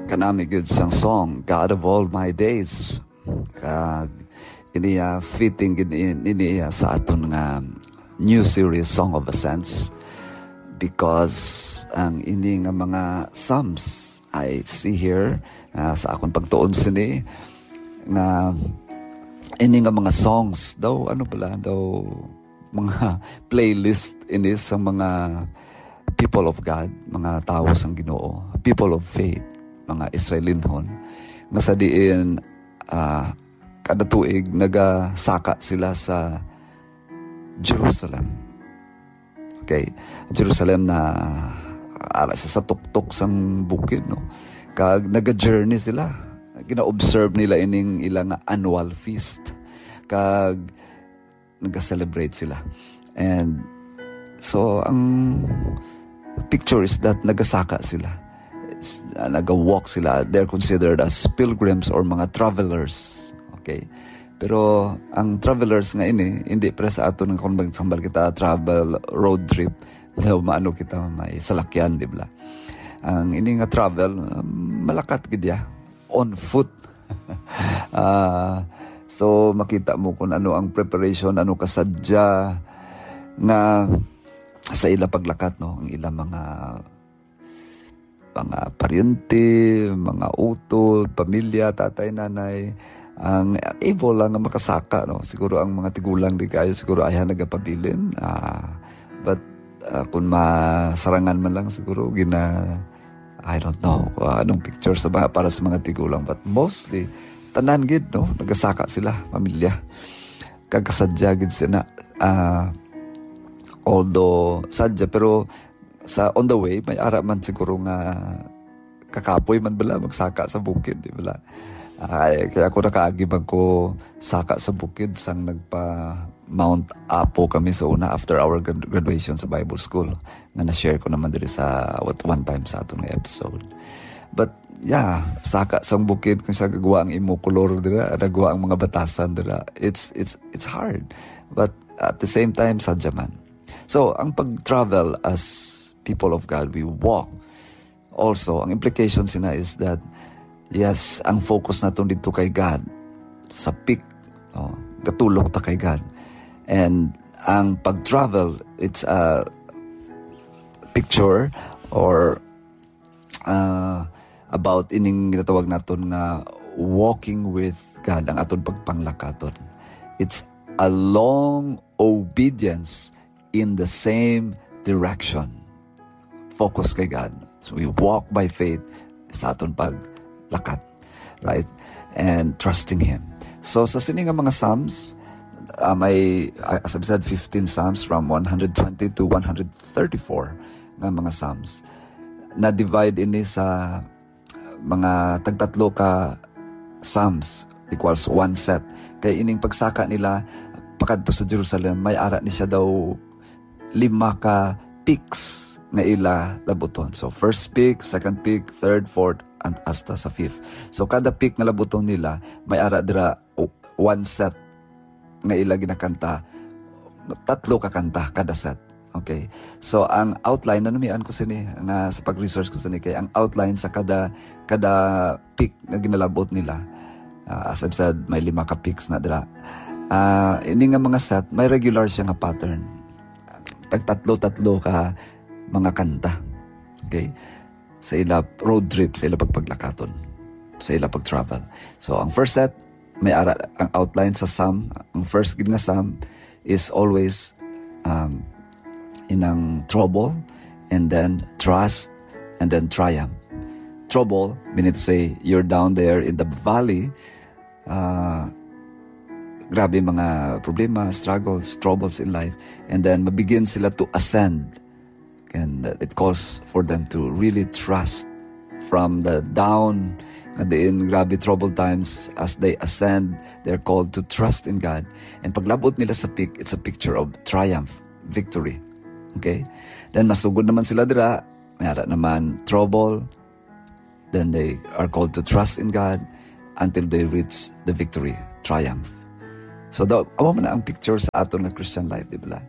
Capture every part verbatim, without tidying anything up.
Kanami gid sang song, God of All My Days. Kag ini, ah, fitting gid in-, ini, ah, sa aton nga new series, Song of Ascents, because ang ini nga mga psalms, I see here, ah, sa akon pagtuon sini, nga ini nga mga songs daw, ano pala, daw mga playlist ini sa mga people of God, mga tawo sang Ginoo, people of faith, mga Israelinhon, nga sa diin, ah, kada tuig nagasaka sila sa Jerusalem. Okay, Jerusalem na ara siya sa tuktok sang bukid, no? Kag naga-journey sila. Gina-observe nila ining ila nga annual feast. Kag naga-celebrate sila. And so, ang picture is that nagasaka sila. It's, uh, naga-walk sila. They're considered as pilgrims or mga travelers. Okay? Pero ang travelers nga ini, hindi pre sa aton nga kung magsambal kita travel road trip, daw maano kita may salakyan, di ba? Ang ini nga travel, um, malakat gid ya, on foot. Ah, so makita mo kung ano ang preparation, ano kasadya nga sa ila paglakat, no? Ang ila mga, mga paryente, mga utod, pamilya, tatay, nanay, ang able lang nga makasaka, no? Siguro ang mga tigulang di kayo, siguro ayha nagapabilin. Ah, but, ah, kung masarangan man lang, siguro gina-, I don't know kung anong picture sa mga, para sa mga tigulang, but mostly, tanan gid, no? Nagasaka sila, pamilya. Kag kasadya gid sila. Ah, although sadya, pero sa on the way, may ara man siguro nga kakapoy man bala magsaka sa bukid, di bala? Ay, kaya ako nakaagi man ko saka sa bukid sang nagpa Mount Apo kami sa una after our grad-, graduation sa Bible School, nga na-share ko naman diri sa what, one time sa aton nga episode. But yeah, saka sang bukid kung sa gagwa ang imo kolor dira, nagwa ang mga batasan dira. It's, it's, it's hard. But at the same time, sadya man. So, ang pag-travel as people of God, we walk. Also, ang implication sina is that, yes, ang focus naton dito kay God, sa peak, no? Gatulok ta kay God. And ang pag-travel, it's a picture or, uh, about ining ginatawag naton nga walking with God, ang aton pagpanglakaton. It's a long obedience in the same direction. Focus kay God. So we walk by faith sa aton paglakat, right? And trusting Him. So sa sini nga mga Psalms, uh, may, uh, as I've said, fifteen Psalms from one hundred twenty to one hundred thirty-four nga mga Psalms. Na-divide ini sa mga tagtatlo ka Psalms equals one set. Kay ining pagsaka nila pakadto sa Jerusalem, may ara ni siya daw lima ka peaks nga ila labuton. So, first peak, second peak, third, fourth, and hasta sa fifth. So, kada peak nga labuton nila, may ara dira o-, one set nga ila ginakanta, tatlo ka kanta kada set. Okay. So, ang outline, nanumian ko sini nga sa pag-research ko sini, kay ang outline sa kada, kada peak nga ginalabot nila, ah, as I've said, may lima ka peaks na dira. Ah, ini nga mga set, may regular siya nga pattern. Tag tatlo-tatlo ka mga kanta. Okay? Sa ila road trip, sa ila pagpaglakaton, sa ila pag-travel. So, ang first set, may ara ang outline sa Psalm. Ang first gid nga Psalm is always, um, inang trouble, and then trust, and then triumph. Trouble, meaning to say, you're down there in the valley, ah, grabe mga problema, struggles, troubles in life, and then mabigyan sila to ascend. And, uh, it calls for them to really trust from the down, nga diin grabe troubled times, as they ascend, they're called to trust in God. And paglabot nila sa peak, it's a picture of triumph, victory. Okay? Then masugod naman sila dira, may ara naman trouble, then they are called to trust in God until they reach the victory, triumph. So, daw, amo man na ang picture sa aton nga Christian life, di ba?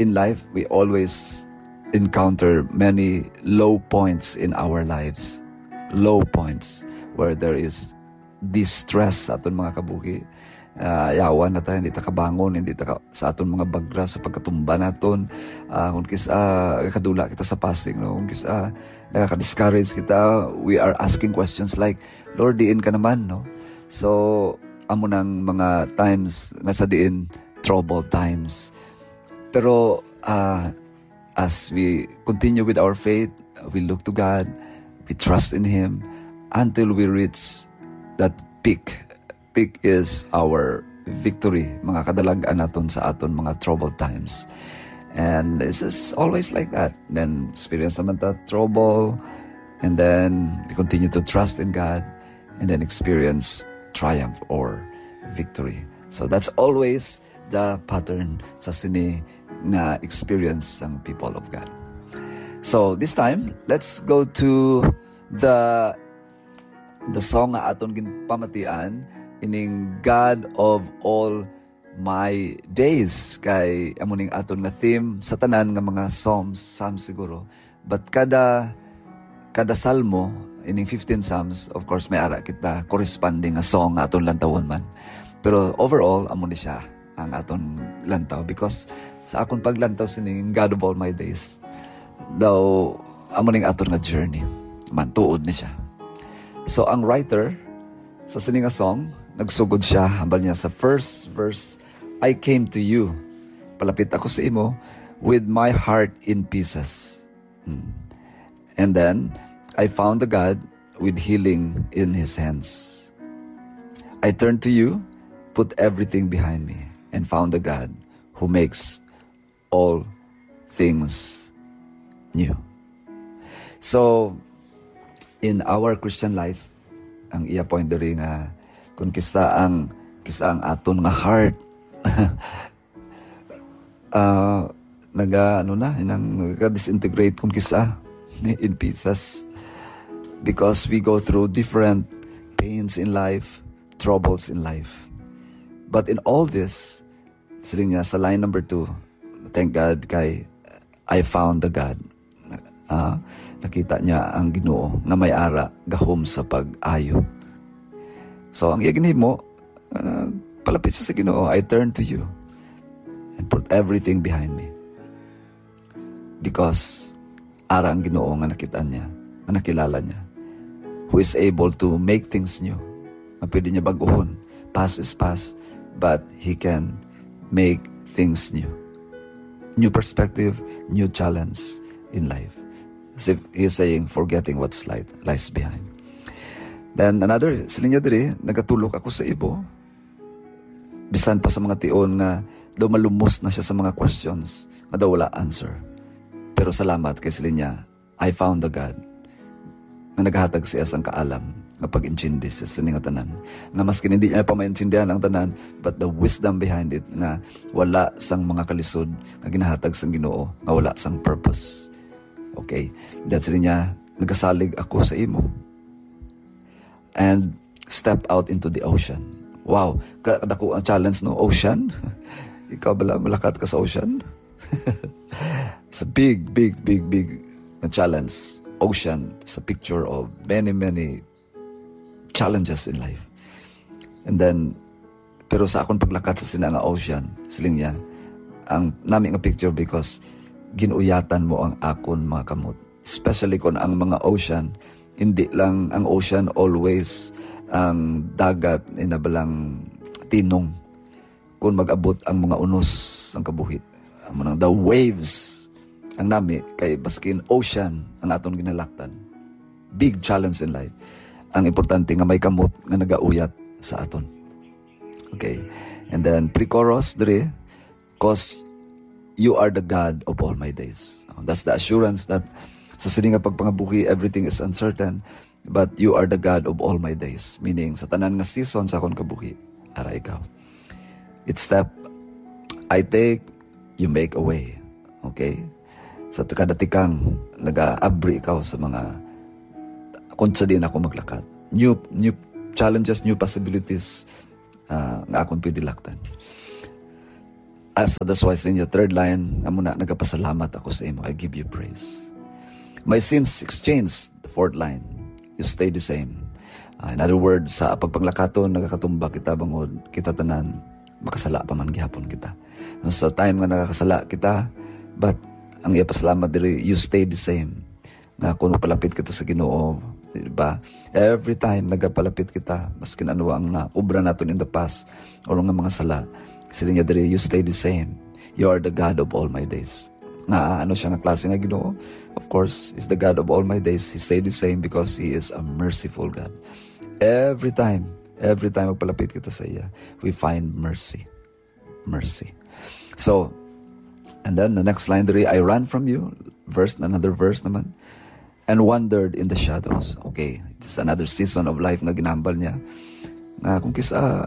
In life, we always encounter many low points in our lives. low points, where there is distress sa aton mga kabuhi. Ah, yawan na ta, hindi ta kabangon, hindi ta ka, sa aton mga bagra, sa pagkatumba naton. Ah, kung kis-, ah, kadula kita sa fasting, no? Kung kis-, ah, nakaka-discourage kita, we are asking questions like, "Lord, diin ka naman?" no? So, amo nang mga times nga sa diin, troubled times. Pero, ah, as we continue with our faith, we look to God, we trust in Him until we reach that peak. Peak is our victory, mga kadalag-an naton sa aton mga troubled times. And this is always like that. Then experience naman ta trouble, and then we continue to trust in God, and then experience triumph or victory. So that's always the pattern sa sini nga experience sang people of God. So this time, let's go to the the song nga aton ginpamatian, ining God of All My Days, kay amo ning aton nga theme sa tanan nga mga psalms, psalms siguro. But kada kada salmo, ining fifteen psalms, of course, may ara kita corresponding nga song nga aton lantawon man. Pero overall, amo ni siya ang aton lantaw, because sa akon paglantaw sining God of All My Days, daw amo ning aton nga journey. Mantuod ni siya. So ang writer sa sini nga song, nagsugod siya, hambal niya sa first verse, "I came to you." Palapit ako sa imo with my heart in pieces. Hmm. And then, "I found the God with healing in his hands." "I turned to you, put everything behind me, and found the God who makes all things new." So, in our Christian life, ang iya point diri nga kung kisa ang, kisa ang aton nga heart, ah, naga, ano na, inang nagka-disintegrate kung kisa in pieces. Because we go through different pains in life, troubles in life. But in all this, siling niya sa line number two, "Thank God kay I found the God." Ah, nakita niya ang Ginoo nga may ara gahom sa pag-ayo. So, ang iya ginhimo, ah, palapit siya sa Ginoo, "I turn to you and put everything behind me." Because ara ang Ginoo nga nakita niya, nga nakilala niya, who is able to make things new, nga pwede niya bag-uhon. Past is past, but He can make things new. New perspective, new challenge in life. As if He is saying, "Forgetting what's light lies behind." Then another, siling niya diri, "Nagatulok ako sa imo." Bisan pa sa mga tion nga daw malumos na siya sa mga questions nga daw wala answer. Pero salamat kay siling niya, "I found the God nga naghatag siya sang kaalam nga pag-intindi sa sini nga tanan." Nga maskin hindi niya pa maintindihan ang tanan, but the wisdom behind it nga wala sang mga kalisod nga ginahatag sang Ginoo, nga wala sang purpose. Okay, that's rin niya, "Nagasalig ako sa imo and step out into the ocean." Wow, ka-, kadako ang challenge, no? Ocean? Ikaw bala, malakat ka sa ocean? It's a big, big, big, big na challenge. Ocean is a picture of many, many challenges in life. And then, pero sa akon paglakat sa sina nga ocean, siling niya, ang nami nga picture because ginuyatan mo ang akon mga kamot. Especially kung ang mga ocean, hindi lang ang ocean always ang dagat, inabalang tinong. Kung mag-abot ang mga unos sang kabuhi, amo nang the waves, ang nami kay baskin ocean ang aton ginalaktan. Big challenge in life. Ang importante nga may kamot nga nagauyat sa aton. Okay. And then pre-chorus diri, "'Cause you are the God of all my days." That's the assurance that sa sini nga pagpangabuhi, everything is uncertain, but you are the God of all my days. Meaning, sa tanan nga season sa akon kabuhi, ara ikaw. Each step I take, you make a way. Okay? Sa kada tikang, nag-aabri ikaw sa mga kung sa din ako maglakat. New, new challenges, new possibilities, ah, nga akon pwede laktan. As that's why sa inyo, third line, amo na, "Nagapasalamat ako sa imo. I give you praise. My sins exchanged," the fourth line. you stay the same. Ah, in other words, sa pagpanglakaton, nagakatumba kita bangod kita tanan, makasala pa man gihapon kita. Sa time nga nakakasala kita, but ang ipasalamat diri, you stay the same. Nga kung palapit kita sa Ginoo, di ba? Every time nagapalapit kita, maskin ano ang naubra naton in the past, o nga mga sala, siling niya diri, you stay the same. You are the God of all my days. Nga, ano siya nga klase nga Ginoo? Of course, is the God of all my days. He stayed the same because He is a merciful God. Every time, every time magpalapit kita sa iya, we find mercy. Mercy. So, and then the next line diri, "I ran from you." Verse, another verse naman. "And wandered in the shadows." Okay, it's another season of life nga ginambal niya. Nga kung kisa,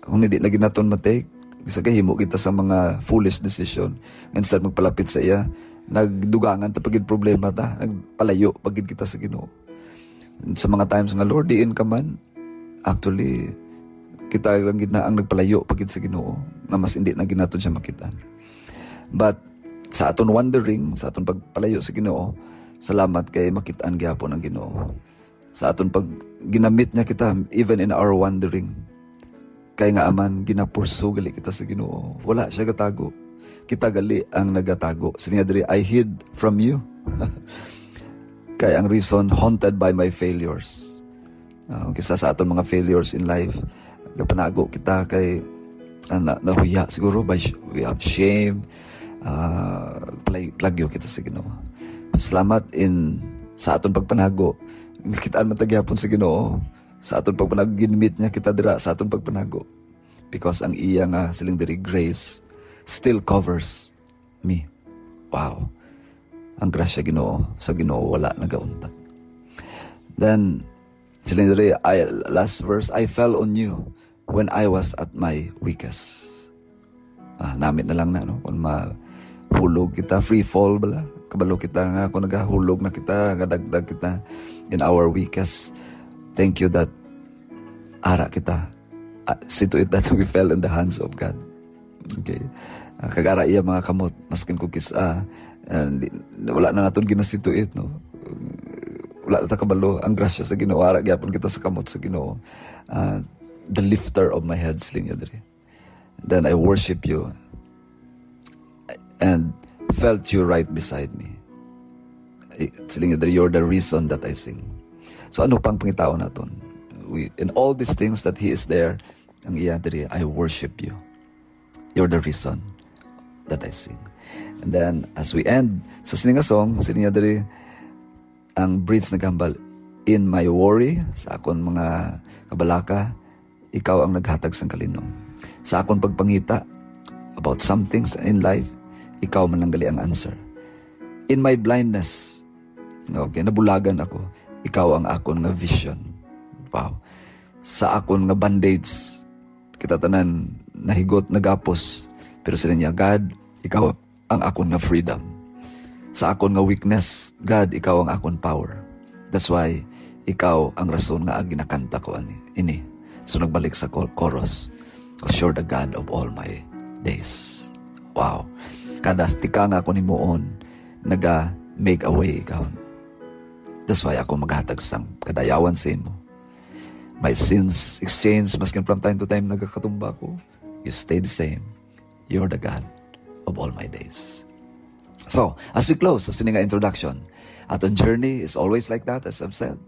kung hindi na ginaton matake, kisa kay himo kita sa mga foolish decision. Instead magpalapit sa iya, nagdugangan ta pagid problema ta, nagpalayo pagid kita sa Ginoo. Sa mga times nga, "Lord, diin ka man?" Actually, kita lang gid na ang nagpalayo pagid sa Ginoo, nga mas hindi na ginaton siya makitaan. But sa aton wandering, sa aton pagpalayo sa Ginoo, salamat kay makitaan gyapon ang Ginoo. Sa aton pag ginamit niya kita, even in our wandering, kay nga aman, ginapursu gali kita sa Ginoo. Wala siya gatago. Kita gali ang nagatago. Sini nga diri, "I hid from you." Kay ang reason, "Haunted by my failures." Ah, kisa sa aton mga failures in life, gapanago kita kay, ah, na, nahuya siguro by sh-, we have shame. Ah, play, plagyo kita sa Ginoo. Salamat in sa aton pagpanago. Nakitaan man ta gyapon sa Ginoo. Sa aton pagpanago, ginmit niya kita dira sa aton pagpanago. Because ang iya nga siling diri, grace still covers me. Wow. Ang grasya Ginoo, sa Ginoo wala nagauntat. Then, siling diri, I, last verse, "I fell on you when I was at my weakest." Ah, namit na lang na, no? Kung mahulog kita, free fall bala. Kabalo kita nga kung nagahulog na kita, gadagdag kita in our weakest. Thank you that ara kita. Ah, see to it that we fell in the hands of God. Okay. Ah, kag ara iya mga kamot, maskin kung kis-, ah, ah, di, wala na naton ginasituit, no? Wala na ta kabalo. Ang grasya sa Ginoo, ara gyapon kita sa kamot sa Ginoo. Ah, "The lifter of my head," siling niya diri. "Then I worship you and felt you right beside me." Eh, siling niya diri, "You're the reason that I sing." So, ano pang pangitaon naton? We, in all these things that He is there, ang iya diri, "I worship you. You're the reason that I sing." And then, as we end, sa sini nga song, siling niya diri, ang bridge nagahambal, "In my worry, sa akon mga kabalaka, ikaw ang naghatag sang kalinom. Sa akon pagpangita about some things in life, ikaw man lang gali ang answer. In my blindness," okay, nabulagan ako, "ikaw ang akon nga vision." Wow. Sa akon nga bandage, kita tanan nahigot, nagapos. Pero sila niya, "God, ikaw ang akon nga freedom. Sa akon nga weakness, God, ikaw ang akon power. That's why ikaw ang rason nga ginakanta ko ani, ini." So nagbalik sa chor-, chorus, "'Cause you're the God of all my days." Wow. Kada tika nga akon himuon, naga make a way ikaw. That's why ako maghatag sang kadayawan sa imo. My sins exchange, maskin from time to time nagakatumba ko, you stay the same. You're the God of all my days. So, as we close sa sini nga introduction, aton journey is always like that, as I've said.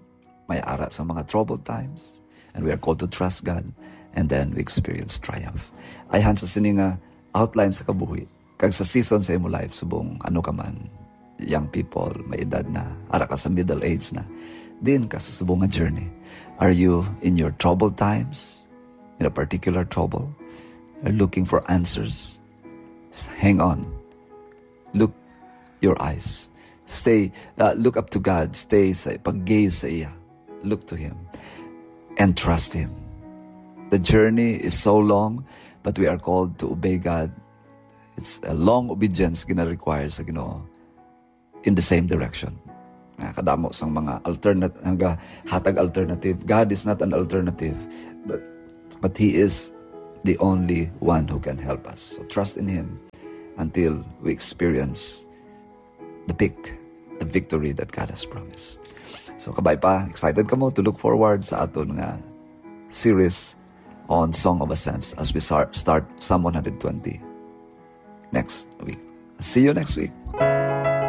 May ara sa mga troubled times, and we are called to trust God, and then we experience triumph. Ayhan sa sini nga outline sa kabuhi, kag sa season sa imo life, subong ano ka man, young people, may edad na, ara ka sa middle age na, din ka sa subong nga journey. Are you in your troubled times, in a particular trouble, are looking for answers? S-, hang on. Look your eyes. Stay, uh, look up to God. Stay sa pag-gaze sa iya. Look to Him and trust Him. The journey is so long, but we are called to obey God. It's a long obedience gina-require sa Ginoo in the same direction. Nga kadamo sang mga alternat-, nga hatag alternative. God is not an alternative, but, but He is the only one who can help us. So trust in Him until we experience the peak, the victory that God has promised. So, kabay pa, excited kamo to look forward sa aton nga series on Song of Ascents as we sar- start Psalm one hundred twenty next week. See you next week.